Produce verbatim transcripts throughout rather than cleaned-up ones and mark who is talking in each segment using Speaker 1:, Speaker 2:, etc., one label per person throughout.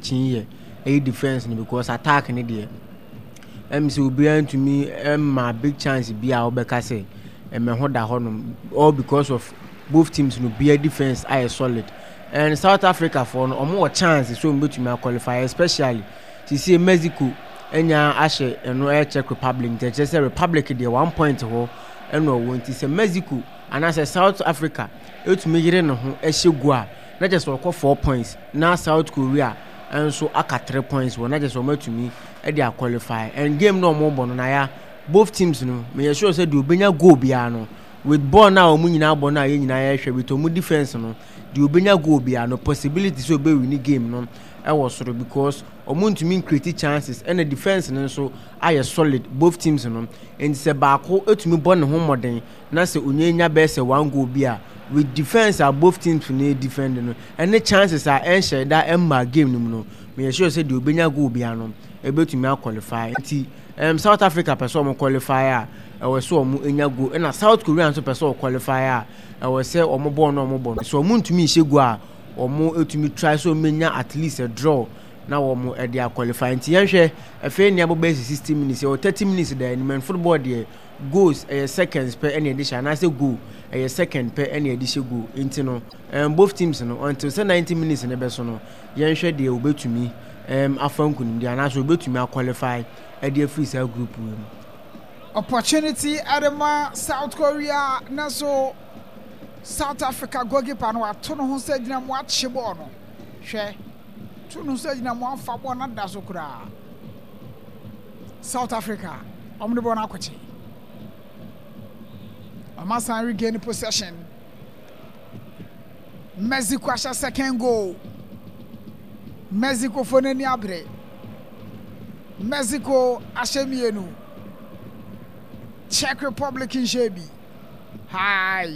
Speaker 1: akyen yɛ ɛyɛ defense no, because attack ne deɛ, ɛm sɛ obiara ntumi ɛma big chance bi a wɔbɛka sɛ ɛmɛ ho da hɔnom, all because of both teams no bia defense ayɛ solid. And South Africa foɔ no, ɔmo wɔ chance sɛ ɔmo bɛtumi aqualify, especially sisi Mexico ɛnya ahyɛ ɛno ɛyɛ Czech Republic, nti ɛkyerɛ sɛ Republic deɛ, one point hɔ ɛna ɔwɔ. Nti sɛ Mexico anaasɛ South Africa ɛtumi yere ne ho ɛhyɛ gu a, na kyerɛ sɛ ɔkɔ four points, na South Korea nso aka three points wɔ, na kyerɛ sɛ ɔmo atumi ɛde aqualify. And game na ɔmo bɔ no na ya, both teams no, meyɛ sure sɛ deɛ obenya goal biara no, with ball na ɔmo nyinaa bɔ no a yɛn nyinaa yɛhwɛ, with ɔmo defense no, deɛ obenya goal biara no, possibility sɛ ɔbɛwin game no ɛwɔ soro, because ɔmo ntumi ncreate chances, ɛna defense no nso ayɛ solid, both teams no. Nti sɛ baako etumi bɔ ne ho mmɔden na sɛ onye nya bɛyɛ sɛ one goal bi a, with defense a both teams no defend no, ɛne chances a ɛnhyɛ da ɛmma game no mu no, meyɛ sure sɛ deɛ obenya goal biara no ebetumi aqualify. Nti um, South Africa pɛ sɛ ɔmo qualify a, ɛwɔ sɛ ɔmo nya goal, ɛna South Korea nso pɛ sɛ ɔqualify a, ɛwɔ sɛ ɔmo bɔɔl no ɔmo bɔ no so, ɔmo ntumi nhyɛ goal a, ɔmo etumi try sɛ ɔmo nya at least a draw na wɔn ɛde aqualify. Nti yɛnhwɛ, afei nea bɔ bɛyɛ sixty minutes, ɛwɔ thirty minutes da anim. And football deɛ, goals ɛyɛ seconds pɛ ɛna yɛde hyɛ, anaasɛ goal ɛyɛ second pɛ ɛna yɛde hyɛ goal. Nti no, um, both teams no, until sɛ ninety minutes ne bɛ so no, yɛnhwɛ deɛ obetumi um, afa nkunimdi anaasɛ obetumi aqualify ɛde afiri saa group wei mu.
Speaker 2: Opportunity ɛde ma South Korea, na so South Africa goalkeeper no wato ne ho sɛ gyina mu akye bɔɔl no. Hwɛ, to ne ho sɛ gyina mu afa bɔɔl no ada so koraa. South Africa ɔmo de bɔɔl no akɔkye, ɔmo asan regain possession. Mexico ahyɛ second goal. Mexico fo n'ani abere. Mexico ahyɛ mmienu, Czech Republic nhyɛ bi. Hi,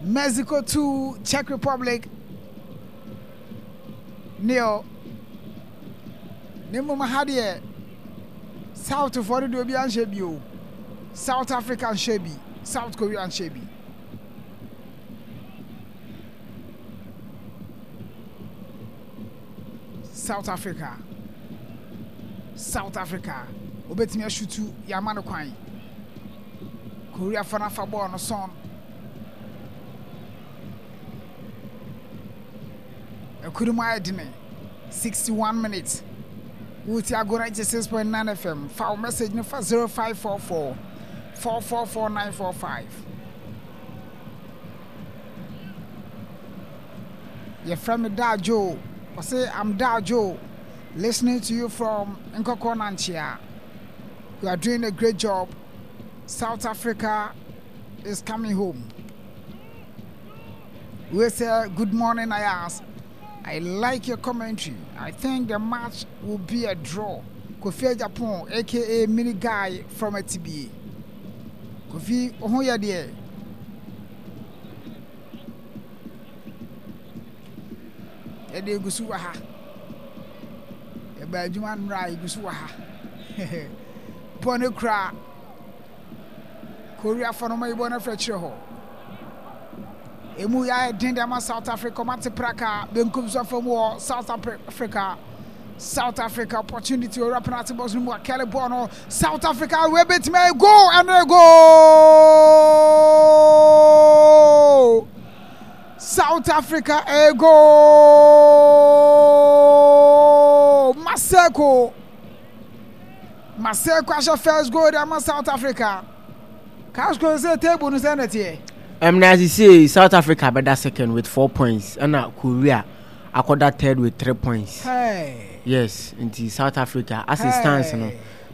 Speaker 2: Mexico two, Czech Republic nil. Ne mmom ha deɛ, South foɔ no deɛ, obi anhyɛ bi o. South Africa nhyɛ bi, South Korea nhyɛ bi. South Africa, South Africa obetumi ashoot, yɛama no kwan. Korea fa no afa bɔɔl no sɔn ɛkuru mu ayɛ dene. sixty-one minutes. Wuti Ago ninety-six point nine F M. Fa wo message no fa zero five four four four four four nine four five. Yɛfrɛ me Daajo. Ɔse, "I'm Daajo, listening to you from Nkɔkɔ Nankyea. You are doing a great job. South Africa is coming home." We say good morning, Ayas. I like your commentary. I think the match will be a draw. Kofi Japan, A K A Mini Guy from A T B. Kofi, oh yeah, dear. Yɛde egu so wɔ ha. Yɛba adwuma nnora, egu so wɔ ha. Bɔ ne kura Korea fɔ no ma yi bɔ no afɛ kyerɛ hɔ. Emu yɛ ayɛ den de ama South Africa. Ɔmo ate praka benkum so afam wɔ South Africa. South Africa opportunity, owura penalty box no mu, akɛle bɔɔl no. South Africa wei betumi ayɛ goal, ɛno goal. South Africa, a goal. Maseko, Maseko ahyɛ first goal de ama South Africa. Casco sɛ table no sɛ nɛteɛ.
Speaker 1: Um, na sisi South Africa bɛda second with four points, ɛna Korea akɔda third with three points.
Speaker 2: Hey.
Speaker 1: Yes, nti South Africa, as it stands no,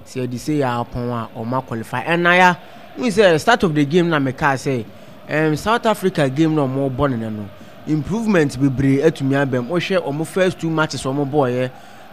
Speaker 1: sɛ yɛde sɛ yɛ apɔn a, ɔma qualify. Ɛna ya n sɛ start of the game na meka sɛ um, South Africa game na ɔmo bɔ ne no, improvement bebree atumi aba mu. Wohwɛ ɔmo first two matches ɔmo bɔɔyɛ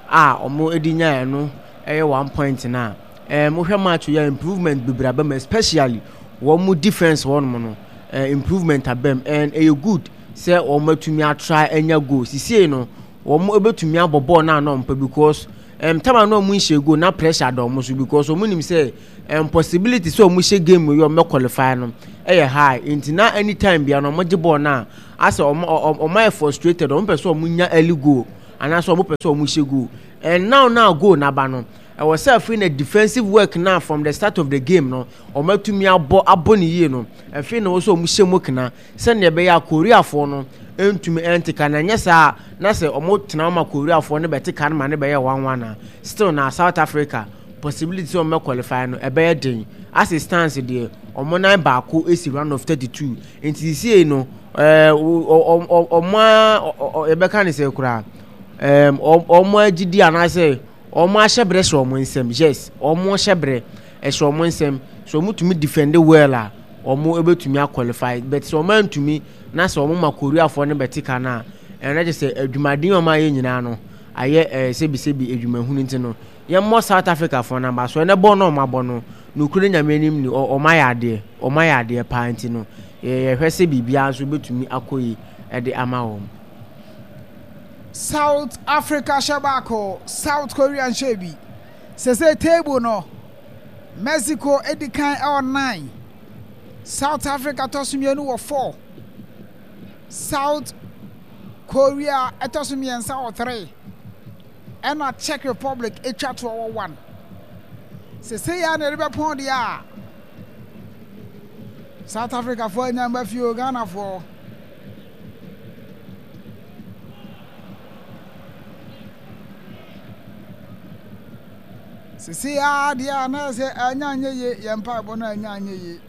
Speaker 1: a, ɔmo de nyaeɛ no ɛyɛ one point na um, wohwɛ match yɛ, improvement bebree aba mu, especially wɔn mo defence wɔnom no, uh, improvement aba mu, and ɛyɛ good sɛ wɔn atumi atry anya goal. Sisie no, wɔn ebɛtumi abɔ bɔɔl naa na ɔmpɛ, because um, time a na wɔn nhyɛ goal na pressure da wɔn so, because wɔn nim sɛ um, possibility sɛ wɔn hyɛ game yi wɔn bɛ qualify no ɛyɛ high. Nti na anytime bia no wɔn gye bɔɔl naa asɛ wɔn wɔn ayɛ frustrated, wɔn pɛ sɛ wɔn nya early goal Anaasɛ ɔmo pɛ sɛ ɔmo hyɛ goal. And now now goal n'aba no, ɛwɔ sɛ afei na defensive work na from the start of the game no, ɔmo atumi abɔ abɔ ne yie no. Afei na wɔ sɛ ɔmo hyɛ mu kena sɛnea ɛbɛyɛ a Koreafoɔ no ntumi ɛnte ka. Na nyɛ saa na sɛ ɔmo tena ma Koreafoɔ no bɛte ka no ma ne bɛyɛ one one a, still na South Africa possibility sɛ ɔmo qualify no ɛbɛyɛ den. As it stands deɛ, ɔmo nan baako esi round of thirty two, nti sie no ɛɛ ɔmo a yɛbɛka ne sɛ koraa ɛɛm ɔmo agyidi anaasɛ ɔmo ahyɛ brɛ hyɛ ɔmo nsam. Yes, ɔmo hyɛ brɛ ɛhyɛ ɔmo nsam so ɔmo tumi defend well a, ɔmo ebɛtumi aqualify, but sɛ ɔmo antumi na sɛ ɔmo ma Koreafoɔ no bɛte ka no a, ɛno kyerɛ sɛ adwumaden a ɔmo ayɛ nyinaa no ayɛ ɛɛ sɛbisɛbi adwumahunu. Nti no yɛmmɔ South Africa foɔ namba so. Ɛnɛ bɔɔl no ɔmo abɔ no, nokuro Nyame anim ni, ɔmo ayɛ adeɛ, ɔmo ayɛ adeɛ paa. Nti no yɛhwɛ sɛ biribiara nso bɛtumi akɔ yi ɛde ama wɔn.
Speaker 2: South Africa hyɛ baako, South Korea nhyɛ bi. Sese table no, Mexico edi kan ɛwɔ nine, South Africa tɔ so mmienu wɔ four, South Korea ɛtɔ so mmiɛnsa wɔ three, ɛna Czech Republic atwa toɔ wɔ one. Sese yɛ na yɛde bɛpɔn deɛ a, South Africa foɔ anya mba fie o. Ghana foɔ sese yɛ adeɛ a na sɛ anya anyɛ yie, yɛn mpaebɔ no anya anyɛ yie.